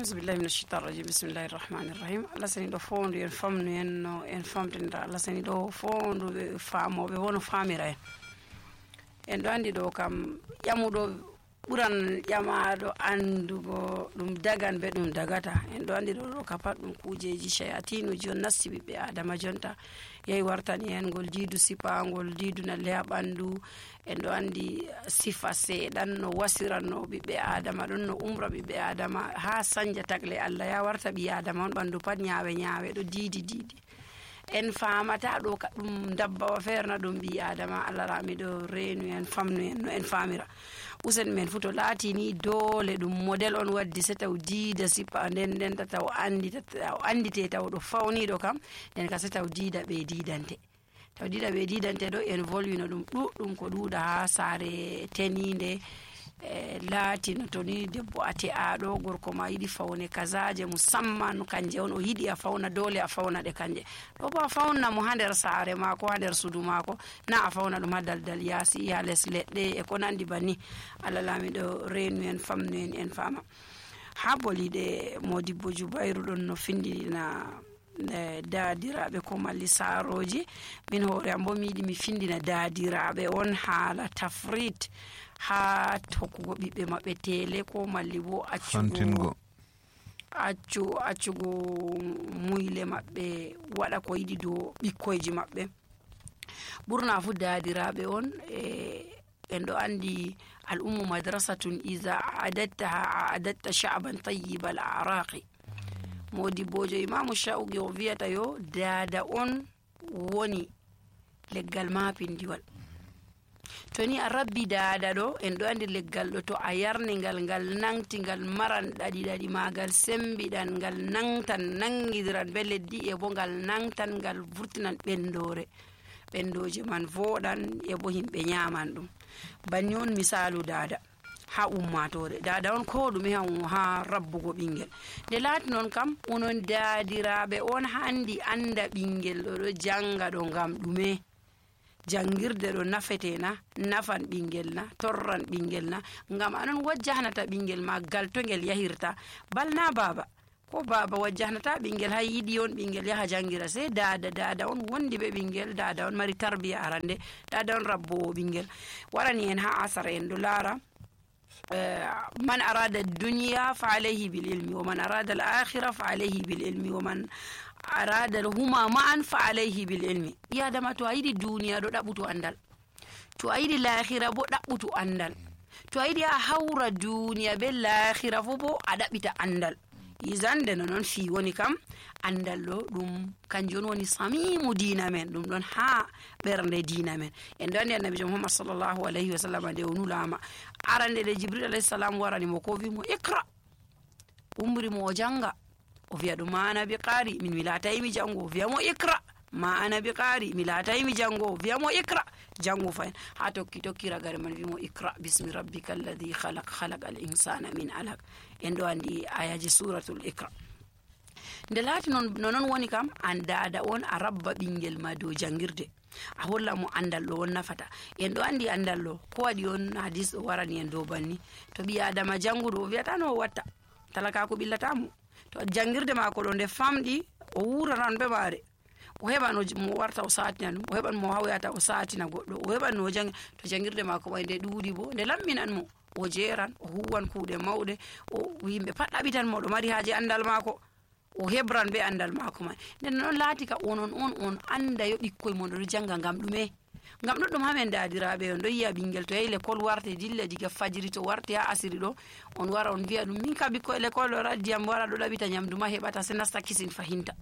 Auzubillahi minash shaitanir rajim. Bismillahir rahmanir rahim. Allah sani do fondu en famnu en no en famtindira. Allah sani do fondu be faamobe wono famira en do andi do kam yamudo buran yamaado andugo dum dagan be dum dagata en do andi do ka pat dum kujeji shayatinu jon nasibi be adama jonta yey wartani en gol diidu sipangol diidu na le bandu en do andi sifa se dan no wasiranno be adama don no umra be adama ha sanja tagle Allah ya warta bi adama on bandu pat nyaawe do diidi en faamata do ka dum dabba wa ferna dum bi adama Allah rami do reenu en famnu en no en famira usen men futo laati ni dole dum model on waddi se taw diida sipa den taw andite taw do fawni do kam den ka se taw diida be diidante do en volwino dum duddum ko duuda ha sare teninde laati no toni debbo ate aado gorko ma yidi fawne kazaje musamman kanje on o yidi a fawna dole a fawna de kanje do ba fawna mo hander sare mako hander sudu mako na a fawna dum dal yasi ya les ledde e ko nandi bani Allah lami do reenu en famnu en fama haboli de Modibbo Jubairu don no findina daadirabe ko malli saroji min hore ambo mi findina daadirabe on haala tafrit ha tokkugo bibbe mabbe tele ko malli bo accugo muyle mabbe wada ko yidi do bikkoyji mabbe burna fu daadirabe on en do andi al ummu madrasatun iza adatta sha'ban tayyib al araqi Modibbojo Imamu Shauqi o viyata yo daada on woni leggal mapindiwal toni a rabbi daada do en do andi leggal do to a yarni ngal nangti ngal maran dadi magal sembidan ngal nangtan nangidiran be leddi e bo ngal nangtan ngal vurtinan bendoje man vodan e bo himbe nyaman dum banni on misalu daada ha ummatore daada on ko dum ha rabbugo bingel de laati non kam onon daadirabe on handi anda bingel do janga do ngam dume jangirde do nafetena nafan bingel na torran bingel na ngam anon wajjahnata bingel ma gal to ngel yahirta balna baba ko baba wajjahnata bingel ha yidi on bingel yaha jangira se daada on wondi be bingel daada on mari tarbiya arande daada on rabbo bingel warani en ha asara en do lara من أراد الدنيا فعليه بالعلم ومن أراد الآخرة فعليه بالعلم ومن أراد هما معا فعليه بالعلم يا دما تو أيدي الدنيا دو دبوتو أندال تو أيدي الآخرة بو دبوتو أندال تو أيدي أحور الدنيا بالآخرة فبو أدبت أندال izan de non fi woni kam andallo dum kanjon woni samimu dina men dum don ha bernde dina men en don annabi Muhammad sallallahu alaihi wasallam de onulama arande de Jibril alayhi salam warani mo ko wi mo ikra umri mo janga o wi'a dum ana bi qari min milatay mi jango wi'a mo ikra ma ana bi qari milatay mi jango wi'a mo ikra jango fayn ha tokki ragare man wi mo ikra bismi rabbikal ladhi khalaqal insana min alaq en do andi ayaji suratul ikra de lati non woni kam andada on arabba bingel ma do jangirde a holla mo andal do on nafata en do andi andal lo ko wadi on hadis warani en do banni to bi adama jangudo wiata no watta talaka ko billata mo to jangirde ma ko do de famdi o wuraran be bare o hebano mo warta o saatina dum o heban mo hawyata o saatina goddo o heban no to jangirde ma ko wayde duudi bo de lamminan mo o jeran o huwan kuude mawde o yimbe pat abitan mo do mari haaje andal mako o hebran be andal mako man den non laati ka on anda yo bikkoy mon do janga ngam duddum hamen daadirabe on do yiya bingel to yeyle kol warte dilla diga fajiri to warte ha asiri do on wara on wi'a dum min ka bikkoy le kol raddi am wara do labita nyamdu ma hebata se nasta kisin fahinta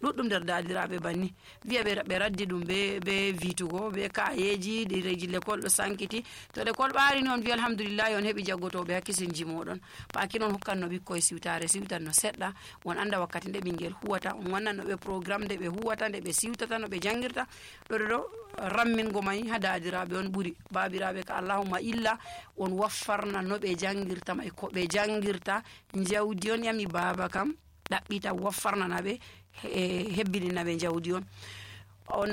duddum der daadirabe banni wi'a be raddi dum be vitugo be kayeji de reji le kol do sankiti to de kol baari non wi alhamdulillah on hebi jaggoto be hakkisin jimodon paaki non hokkanno bikkoy siwtanno sedda won anda wakkati de bingel huwata on wannano be programme de be huwata de be siwtata no be jangirta do rammin go may ha daadirabe on buri babirabe ka allahumma illa on waffarna no be jangirta may ko be jangirta jawdi on yami baba kam dabbita waffarna nabe hebbinina be jawdi on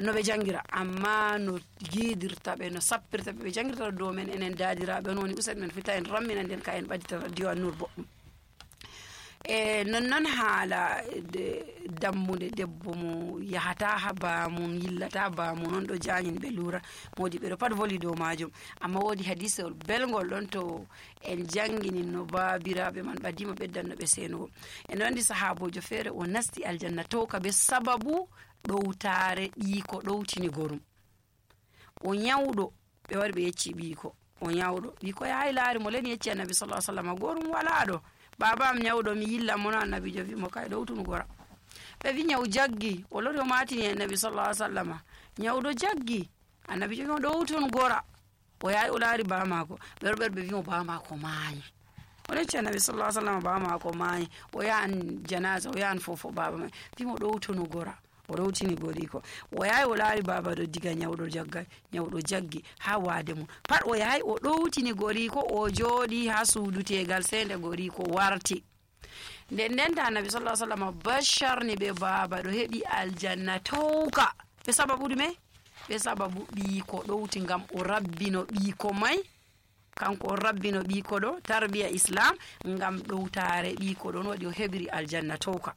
no be jangira amma no gidirta be no sappirta be jangirta do men enen daadirabe non usen men fita en rammina den ka en badita radio Nur boddum non haala dammude debbo mo yahata ha bamum yillata bamum non ɗo jañini ɓe lura modi ɓe ɗo pat voli dow majum. amma wodi hadisewol belgol ɗon to en jangini no babiraɓe man ɓadima ɓeddanno ɓe senugo. en andi sahabojo feere o nasti aljanna towka be sababu ɗowtare ɓiiko ɗowtini gorum. o nyawɗo ɓe wari ɓe yecci ɓiiko o nyawɗo ɓiiko yahay laari mo len yecci annabi sallallahu alaihi wasallam gorum wala ɗo baba am nyawɗo mi yilla mo no annabijo wi mo kay ɗowtun gora. ɓe wi nyaw jaggi o lori o matini annabi sallallahu alaihi wasallam nyawɗo jaggi annabijo wi mo ɗowtun gora. o yahi o laari baba mako ɓe wi mo baba mako maayi. o lecci annabi sallallahu alaihi wasallam baba mako maayi. o yahan janaza o yahan fofo baba mai wi mo ɗowtun gora. o ɗowtini goriko. o yahi o laari baba ɗo diga nyawɗo jaggai nyawɗo jaggi ha wade mum pat o yahi o ɗowtini goriko o jooɗi ha suudu tegal sende goriko warti. nden ta annabi sallallahu alaihi wasallam basharni ɓe baba ɗo heɓi aljanna towka ɓe sababu ɗume ɓe sababu ɓiiko ɗowti ngam o rabbino ɓiiko mai kanko o rabbino ɓiiko ɗo tarbiya islam ngam ɗowtare ɓiiko ɗon waɗi o heɓiri aljanna towka.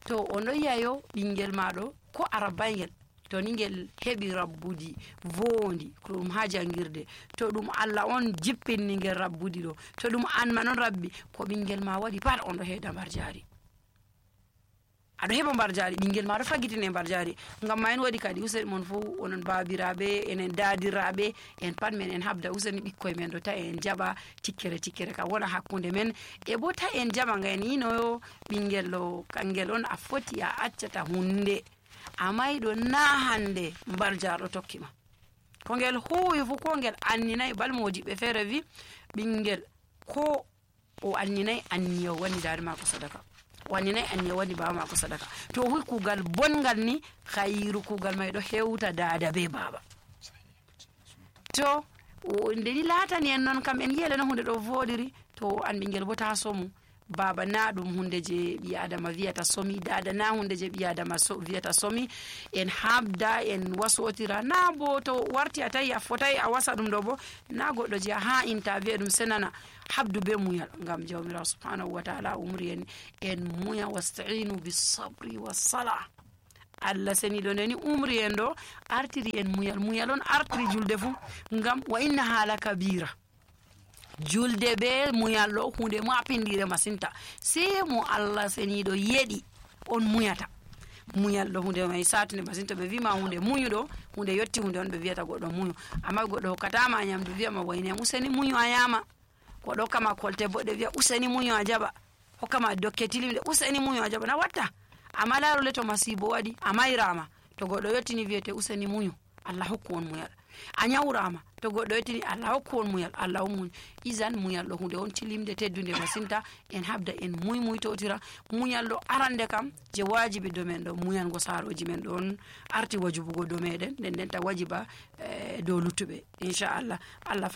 to o noyiyayo ɓingel maɗo ko arabayngel to ni ngel heɓi rabbudi vondi ko ɗum ha jangirde to ɗum Allah on jippinni ngel rabbudi ɗo to ɗum an ma non rabbi ko ɓingel ma waɗi pat on ɗo heeda mbar jaari aɗo heɓa mbar jaari ɓingel ma ɗo fagitine mbar jaari. ngam ma en waɗi kadi useni mon fo onon babiraɓe enen dadiraɓe en pat men en habda useni ɓikkoye men ɗo ta en jaɓa tikkere ka wona hakkunde men e bo ta en jaɓa nga en yinoyo ɓingel ɗo kangel on a foti a accata hunde amayɗo na hande mbar jarɗo tokkima ko ngel huwi fu ko ngel anninayi balmojiɓe feere wi ɓingel ko o anninayi anniya wani dade mako sadaka o anninayi anniya wani baba mako sadaka to hui kugal bongal ni khairu kugal may ɗo hewta dada be baba. to ndeni latani en noon kam en yiyele no hunde ɗo voɗiri to an ɓingel bo ta somu baba na ɗum hunde je ɓi adama wiyata somi dada na hunde je ɓi adama wiyata somi en habda en wasotira na bo to warti a tawi a fotai a wasa ɗum ɗo bo na goɗɗo je ha inta wiya ɗum senana habdu be muyal ngam jawmirawo subhanahu wa ta'ala umri en muya wasta'inu bisabri wassala. Allah seniɗo ndeni umri en ɗo artiri en muyal on artiri julde fu ngam wa inna hala kabira julde be muyal ɗo hunde mapindire masinta sei mo Allah seniɗo yeɗi on muyata muyal ɗo hunde mai satinde masinta ɓe wima hunde muyuɗo hunde yetti hunde on ɓe wiyata goɗɗo muyu amma goɗɗo hokkatama nyamdu wiyama wayne useni muyu a yama goɗɗo hokkama kolte boɗɗe wiya useni muyu a jaɓa hokkama dokke tilimde useni muyu a jaɓa na watta amma larole to masibo waɗi a mayrama to goɗɗo yettini wiyete useni muyu Allah hokku on muyal a nyawrama to goɗɗo yettini Allah hokku on muyal Allah on muñu isan muyal ɗo hunde on tilimde teddude masinta en habda en muytotira muyal ɗo arande kam je wajibi do men ɗo muyango saroji men ɗon arti wajibugo do meɗen nden ta wajiba dow luttuɓe inchallah Allah